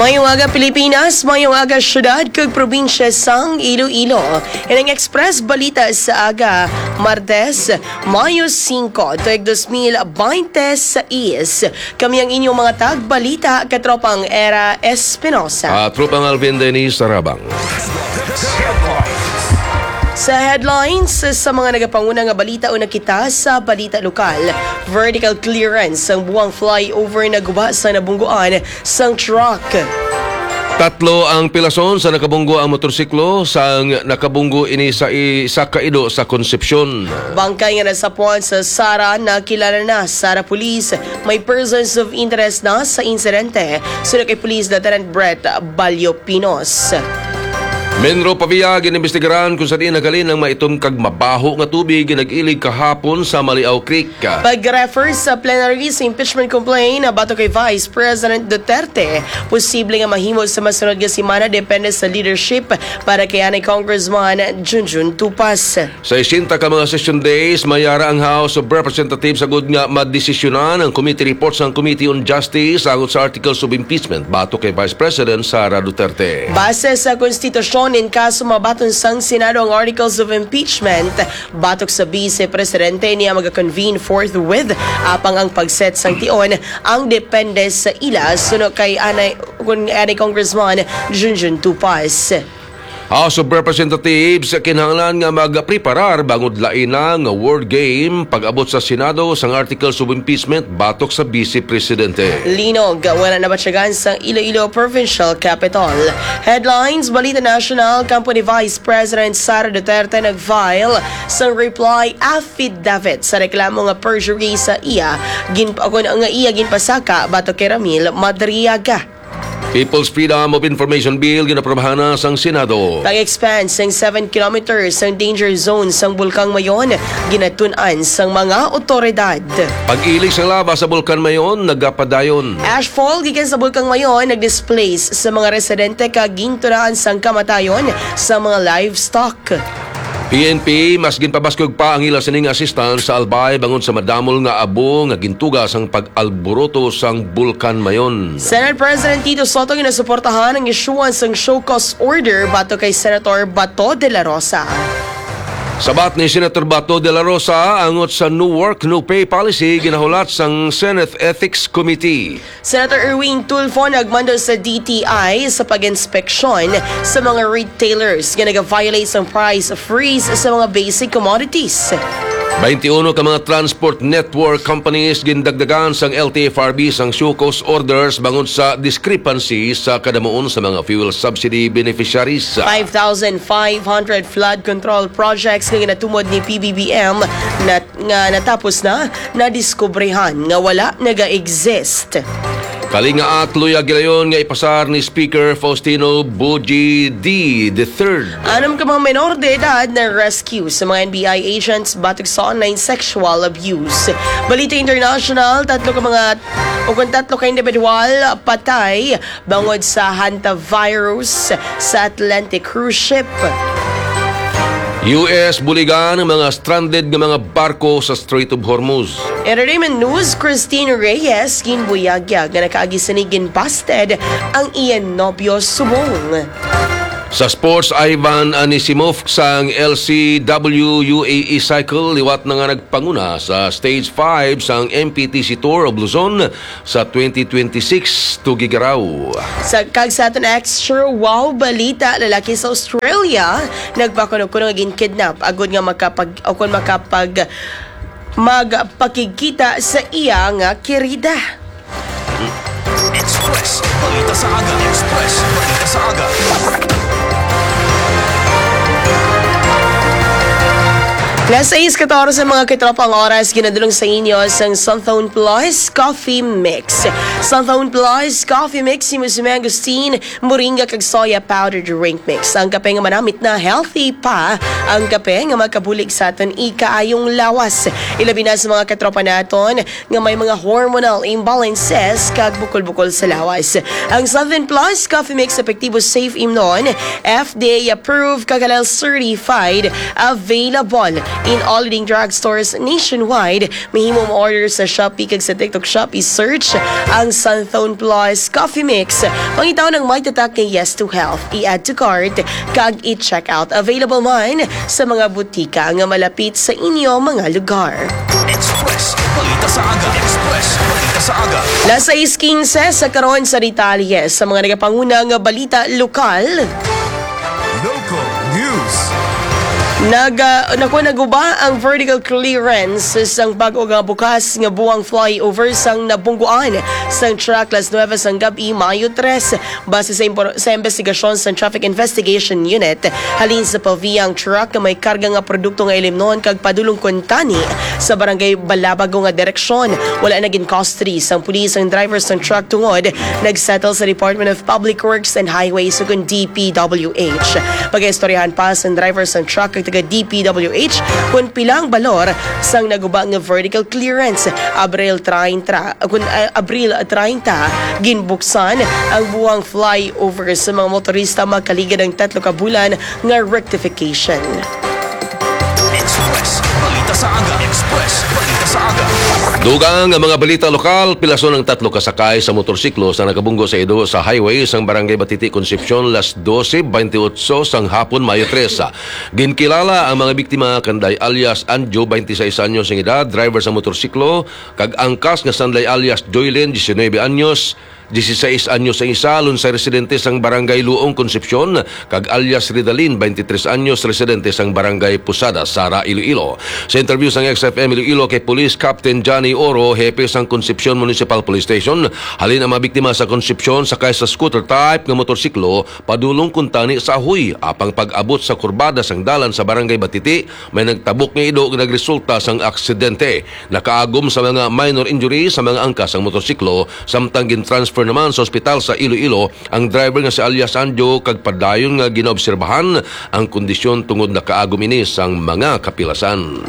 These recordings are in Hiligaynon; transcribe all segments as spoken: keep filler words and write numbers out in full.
Mayong aga, Pilipinas. Mayong aga, syudad kag probinsya sang Iloilo. Inang Express Balita sa aga, Martes, Mayo singko, tuig dos mil binte sais. Kami ang inyong mga tagbalita, katropang Era Espinosa. At tropang Alvin Dennis Tarabang. Sa headlines, sa mga nagapanguna nga balita, una kita sa balita lokal. Vertical clearance sang Buang Flyover naguba sa nabungguan sang truck. Tatlo ang pilason sa nakabunggo ang motorsiklo sang nakabunggo ini sa isa ka ido sa Concepcion. Bangkay nga nasapwan sa Sara nakilala na sa Sara Police. May persons of interest na sa insidente, suno kay Police Lieutenant Brett Balyo Pinos. Menro Pavia ginimbestigaran kung sa diin naghalin ang maitom kag mabaho nga tubig nga nag-ilig kahapon sa Maliao Creek. Pag-refer sa plenary sa impeachment complaint batok kay Vice President Duterte, posible nga mahimo sa masunod nga semana depende sa leadership para kay anay Congressman Junjun Tupas. Sa sesenta ka mga session days, mayara ang House of Representatives agud nga madesisyonan ang committee report sang Committee on Justice agud sa articles of impeachment batok kay Vice President Sara Duterte. Base sa konstitusyon, in kaso mabaton sang Senado ang articles of impeachment batok sa Vice Presidente, niya maga-convene forthwith, apang ang pag-set sang tion ang depende sa ila, suno kay anay, kun anay Congressman Junjun Tupas. House of Representatives kinahanglan nga magpreparar bangod lain na nga word game pag-abot sa Senado sang articles of impeachment batok sa Vice Presidente. Linog, wala nabatyagan sa Iloilo Provincial Capitol. Headlines, Balita National, kampo ni Vice President Sara Duterte nag-file sang reply affidavit sa reklamo nga perjury sa iya gin-, nga iya ginpasaka batok kay Ramil Madriaga. People's Freedom of Information Bill ginaprobahan na sang Senado. Pag-expand sang seven kilometers sang danger zone sang Bulkang Mayon, ginatun-an sang mga otoridad. Pag-ilig sang laba sa Bulkan Mayon nagapadayon. Ashfall gikan sa Bulkang Mayon nag-displace sa mga residente kag gintunaan sang kamatayon sa mga livestock. P N P mas ginpabaskog pa ang ila sining assistance sa Albay bangod sa madamol nga abo nga gintuga sang pag-alboroto sang Bulkan Mayon. Senate President Tito Sotto ginasuportahan ang issuance sang show cause order batok kay Senator Bato de la Rosa. Sabat ni Senator Bato de la Rosa, angot sa no work, no pay policy ginahulat sang Senate Ethics Committee. Senator Erwin Tulfo nagmando sa D T I sa pag-inspeksyon sa mga retailers nga nag-violate sang price freeze sa mga basic commodities. Twenty-uno ka mga transport network companies gindagdagan sang L T F R B sang show cause orders bangod sa discrepancy sa kadamuon sa mga fuel subsidy beneficiaries. Five thousand five hundred flood control projects nga ginatumod ni P B B M na, nga natapos na, nadiskubrehan nga wala naga-exist. Kalingaak, luya gilayon nga ipasar ni Speaker Faustino Boji D the third. Anom ka mga menor de edad na rescue sa mga N B I agents batok sa online sexual abuse. Balita international, tatlo ka mga, o kung tatlo ka individual patay bangod sa hantavirus sa Atlantic cruise ship. U S buligan ang mga stranded nga mga barko sa Strait of Hormuz. Entertainment news, Christine Reyes ginbuyagyag nga nakaagi sini ginbasted ang iya nobyo subong. Sa sports, Ivan Anisimov sang L C W U A E Cycle liwat na nga nagpanguna sa Stage five sang M P T C Tour of Luzon sa twenty twenty-six Tugigaraw. Sa kag sa aton extra wow balita, lalaki sa Australia nagpakuno-kuno nga ginkidnap agud nga makapag o kon makapag magpakigkita sa iya nga kirida. Express Balita sa Aga. Express Balita sa Aga. Las sais katorse, mga katropa, ang oras, ginadulong sa inyo sang Santhone Plus Coffee Mix. Santhone Plus Coffee Mix, imo si Mangosteen, moringa kag soya powder drink mix. Ang kape nga manamit na healthy pa ang kape nga makabulig sa aton ikaayong lawas. Ilabi na sa mga katropa naton nga may mga hormonal imbalances kag bukol-bukol sa lawas. Ang Seven Plus Coffee Mix epektibo, safe imnon, F D A approved kag halal certified, available In all leading drugstores nationwide, mahimo mo-order sa Shopee kag sa TikTok Shop. I-search ang Santhone Plus Coffee Mix. Pangitaon ang may tatak kay Yes to Health. I-add to cart kag i-check out. Available man sa mga butika nga malapit sa inyo mga lugar. Express Balita sa Aga. Express Balita sa Aga. Las sais quince sa karon sa detalye sa mga nagapanguna nga balita lokal. Local News. Nag, ah, naku, naguba ang vertical clearance sang bag-o nga bukas nga buang flyover sang nabungguan sang truck las nuebe sang gab-i, Mayo tres. Base sa impor-, sa investigasyon sang Traffic Investigation Unit, halin sa Pavia ang truck nga may karga nga produkto nga ilimnon kag padulong kuntani sa barangay Balabago nga direksyon. Wala na gin custody sang pulis ang driver sang truck tungod nag-settle sa Department of Public Works and Highways ukon D P W H. Pagaistoryahan pa sang driver sang truck kag taga D P W H kung pila ang balor sang naguba nga vertical clearance. Abril treinta, kun, ah, Abril treinta, ginbuksan ang buang flyover sa mga motorista makaligad ang tatlo ka bulan nga rectification. Express Balita sa Aga. Express Balita sa Aga. Dugang nga mga balita lokal, pilason ang tatlo ka sakay sa motorsiklo sa nagabunggo sa ido sa highway sang Barangay Batiti, Concepcion, las doce veintiocho sang hapon, Mayo tres. Ginkilala ang mga biktima kanday alias Anjo, twenty-seis anyos ang edad, driver sa motorsiklo, kag angkas nga sanday alias Joylin, diecinuebe anyos, dieciséis anyos ang isa, lunsay residente sang Barangay Luong, Concepcion, kag alias Ridalin, twenty-tres anyos, residente sang Barangay Posada, Sara, Iloilo. Sa interview sang X F M Iloilo kay Police Captain Johnny Oro, hepe sang Concepcion Municipal Police Station, halin ang mga biktima sa Concepcion sakay sa scooter type nga motorsiklo padulong kuntani sa Ahoy, apang pag-abot sa kurbada sang dalan sa Barangay Batiti, may nagtabok nga ido nga nagresulta sang aksidente. Nakaagom sa mga minor injury sa mga angkas ang motorsiklo, samtang gin-transfer naman sa ospital sa Iloilo ang driver nga si alias Anjo, kag padayon nga ginaobserbahan ang kondisyon tungod nakaagom ini sang mga kapilasan.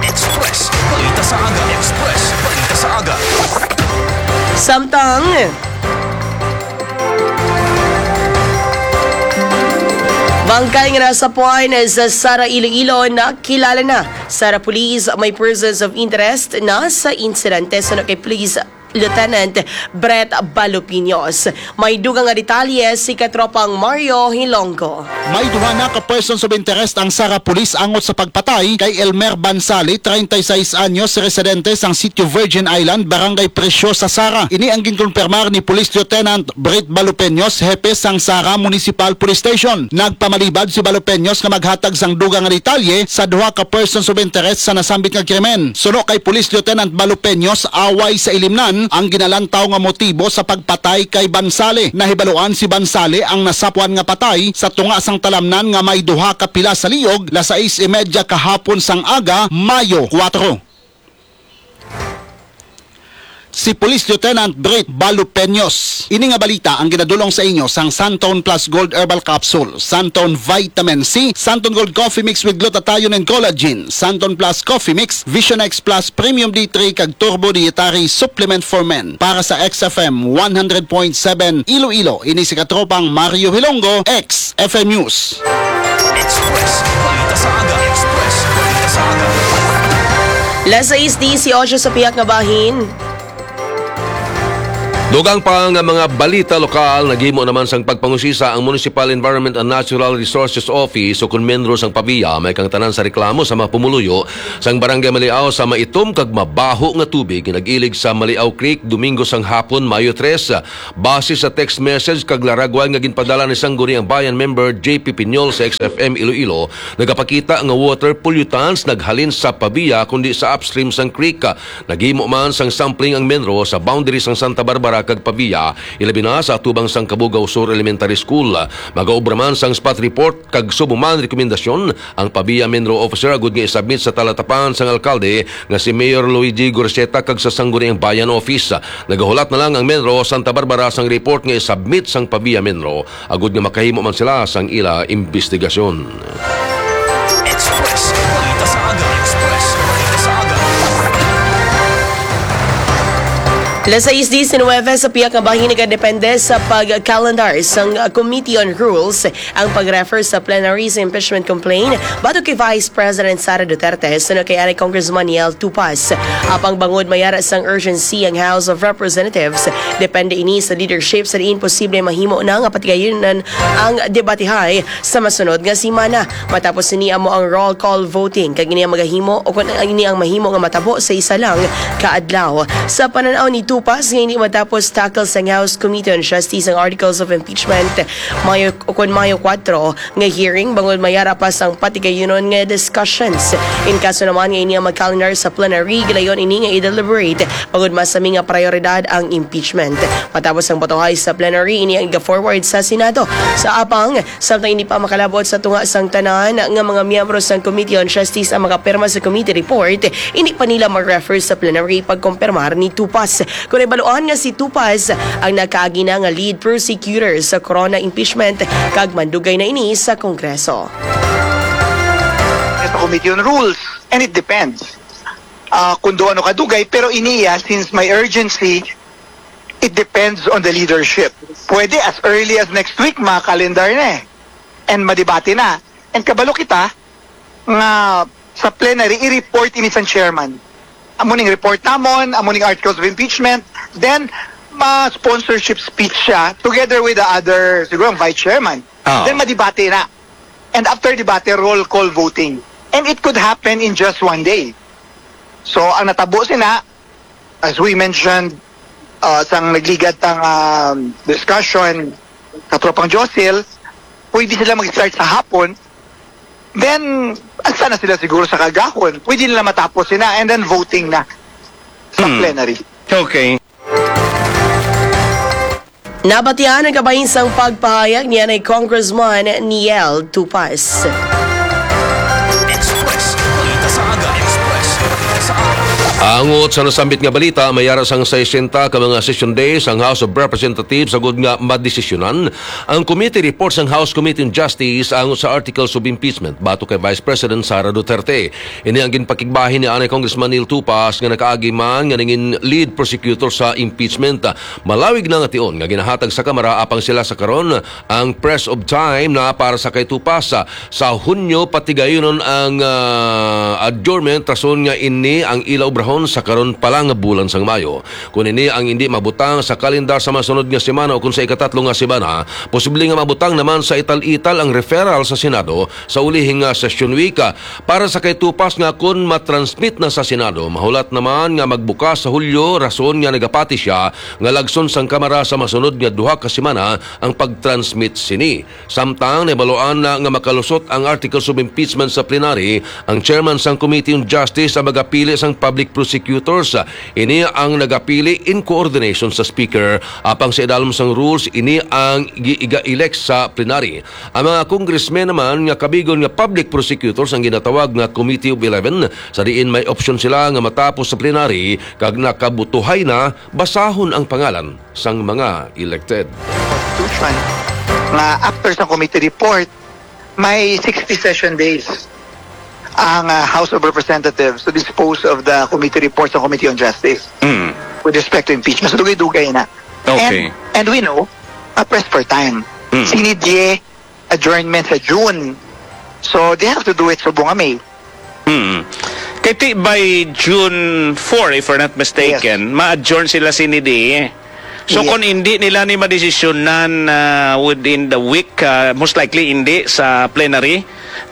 Express Balita sa Aga. Express Balita sa Aga. Samtang bangkay nga nasapuan sa Sara, Iloilo, nakilala na sa Sara Police. May persons of interest na sa insidente. Suno kay Police Lieutenant Brett Balupiños, may dugang nga detalye si Katropang Mario Hilonggo. May duha na ka persons of interest ang Sara Police angot sa pagpatay kay Elmer Bansali, treinta y seis anyos, residente sang Sitio Virgin Island, Barangay Preciosa, Sara. Ini ang ginkonfirmar ni Police Lieutenant Brett Balupeños, hepe sang Sara Municipal Police Station. Nagpamalibad si Balupeños nga maghatag sang dugang nga detalye sa duha ka persons of interest sa nasambit nga krimen. Suno kay Police Lieutenant Balupeños, away sa ilimnan ang ginalantaw nga motibo sa pagpatay kay Bansali. Nahibaluan si Bansali ang nasapuan nga patay sa tunga sang talamnan nga may duha ka pilas sa liog, las sais y media kahapon sang aga, Mayo kuwatro. Si Police Lieutenant Brett Balupeños. Ini nga balita ang ginadulong sa inyo sang Santon Plus Gold Herbal Capsule, Santon Vitamin C, Santon Gold Coffee Mix with Glutathione and Collagen, Santon Plus Coffee Mix, Vision X Plus Premium D three, kag Turbo Dietary Supplement for Men. Para sa X F M one hundred point seven Iloilo, ini si Katropang Mario Hilonggo, X F M News. Express Balita sa Aga. Express Balita sa Aga. Las sais dieciocho sa pihak nga bahin. Dugang pa nga mga balita lokal, naghimo naman sang pagpangusisa ang Municipal Environment and Natural Resources Office o kon MENRO sang Pavia, may kang tanan sa reklamo sa mga pumuluyo sang Barangay Maliao sa maitom kag mabaho nga tubig nag-ilig sa Maliao Creek, Domingo sang hapon, Mayo tres. Base sa text message kag laragwan nga ginpadala ni Sangguniang Bayan member J P Piñol sa X F M Iloilo, nagapakita nga water pollutants naghalin sa Pavia kundi sa upstream sang creek. Naghimo man sang sampling ang MENRO sa boundary sang Santa Barbara kag Pavia, ilabi na sa atubang sang Cabugao Sur Elementary School. Magaobra man sang spot report kag subong man rekomendasyon ang Pavia MENRO officer agud nga isubmit sa talatapan sang alkalde nga si Mayor Luigi Gorceta kag sa Sangguniang Bayan Office. Nagahulat na lang ang MENRO Santa Barbara sang report nga isubmit sang Pavia MENRO agud nga makahimo man sila sang ila imbestigasyon. Express Balita sa Aga. Express Balita sa Aga. Alas sais diecinuebe sa pihak nga bahin nagadepende sa pag-calendar sang Committee on Rules ang pag-refer sa plenary sa impeachment complaint batok kay Vice President Sara Duterte suno kay anay Congressman Neiel Tupas. Apang bangod mayara sang urgency ang House of Representatives, depende ini sa leadership sa diin posible mahimo na nga patigayonon ang debatehay sa masunod nga semana. Matapos ini amo ang roll call voting kag ini ang magahimo o kon ini ang mahimo nga matabo sa isa lang ka adlaw. Sa panan-aw ni Tupas nga hindi matapos tackle sang House Committee on Justice ang articles of impeachment, Mayo o kon Mayo kuwatro nga hearing bangod mayara pa sang patigayonon nga discussions. In kaso naman nga ini ang mag-calendar sa plenary, gilayon ini nga i-deliberate bangod masami nga prioridad ang impeachment. Matapos ang botohay sa plenary, ini ang iga-forward sa Senado. Sa apang, samtang hindi pa makalabot sa tunga sang tanan nga mga miyembro sang Committee on Justice ang makapirma sa committee report, hindi pa nila mag-refer sa plenary pagkumpirmar ni Tupas. Kon ibaluan nga si Tupas ang nakaagi na nga lead prosecutor sa corona impeachment kag mandugay na ini sa Kongreso. Sa Committee on Rules, and it depends. Ah, kung do ano kadugay, pero iniya, since may urgency, it depends on the leadership. Pwede as early as next week, makalendar na eh. And madebate na. And kabalo kita nga sa plenary, i-report ini sang chairman. Amo ning report namon, amo ning articles of impeachment. Then, ma-sponsorship speech siya together with the other, siguro ang vice chairman. Ah. Then madebate na. And after debate, roll call voting. And it could happen in just one day. So, ang natabo sina, as we mentioned, uh, sang nagligad tang um, discussion, Katropang Josil, pwede sila mag-start sa hapon, then, asa na sila siguro sa kagahon? Pwede nila matapos sina, and then voting na sa Hmm. plenary. Okay. Nabatian ang kabahin sang pagpahayag ni anay Congressman Neiel Tupas. Express. Balita sa aga. Express. Balita sa aga. Angot sa nasambit nga balita, may ara sang sesenta ka mga session days ang House of Representatives agud nga madesisyonan ang committee report sang House Committee on Justice angot sa articles of impeachment batok kay Vice President Sara Duterte. Ini ang ginpakigbahin ni anay Congressman Neiel Tupas nga nakaagi man nga nangin lead prosecutor sa impeachment. Malawig na nga tion nga ginahatag sa Kamara apang sila sa karon ang press of time na para sa kay Tupas. Sa Hunyo, patigayonon ang ah, adjournment rason nga ini ang ila obrahon sa karon pa lang nga bulan sang Mayo. Kon ini ang indi mabutang sa kalendar sa masunod nga semana o kon sa ikatatlo nga semana, posible nga mabutang naman sa ital-ital ang referral sa Senado sa ulihing nga session week. Para sa kay Tupas nga kon matransmit na sa Senado, mahulat naman nga magbukas sa Hulyo, rason nga nagapati siya nga lagson sang Kamara sa masunod nga duha ka semana ang pagtransmit sini. Samtang nahibaluan na nga makalusot ang articles of impeachment sa plenary, ang chairman sang Committee on Justice ang magapili sang public prosecutors. Ini ang nagapili in coordination sa Speaker. Apang sa idalom sang rules, ini ang gi-, iga-elect sa plenary. Ang mga congressmen naman nga kabigon nga public prosecutors ang ginatawag nga Committee of Eleven, sa diin may opsyon sila nga matapos sa plenary kag nakabutuhay na, basahon ang pangalan sang mga elected. Constitution nga after sa committee report, may sixty session days ang uh, House of Representatives to dispose of the committee report sa Committee on Justice Mm. with respect to impeachment. So, dugay-dugay na. Okay. And, and we know, uh, pressed for time. Mm. Sine die adjournment sa June. So, they have to do it subong nga May. Mm. Kay ti by June four, if we're not mistaken, ma-adjourn sila sine die. So Yes. Kung hindi nila ni madesisyonan ah, within the week, ah, most likely hindi sa plenary,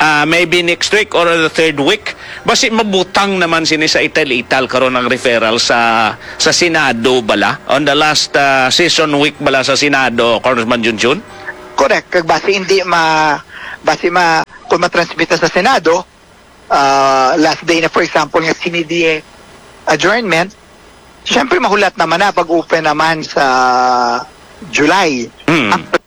ah, maybe next week or the third week, basi mabutang naman sini sa ital-ital karon ang referral sa sa Senado bala on the last ah, session week bala sa Senado, Congressman Junjun? Correct. Kag basi hindi ma basi ma kung matransmit na sa Senado, ah, last day na, for example, nga sine die adjournment, syempre mahulat naman na pag-open naman sa July. Mm. After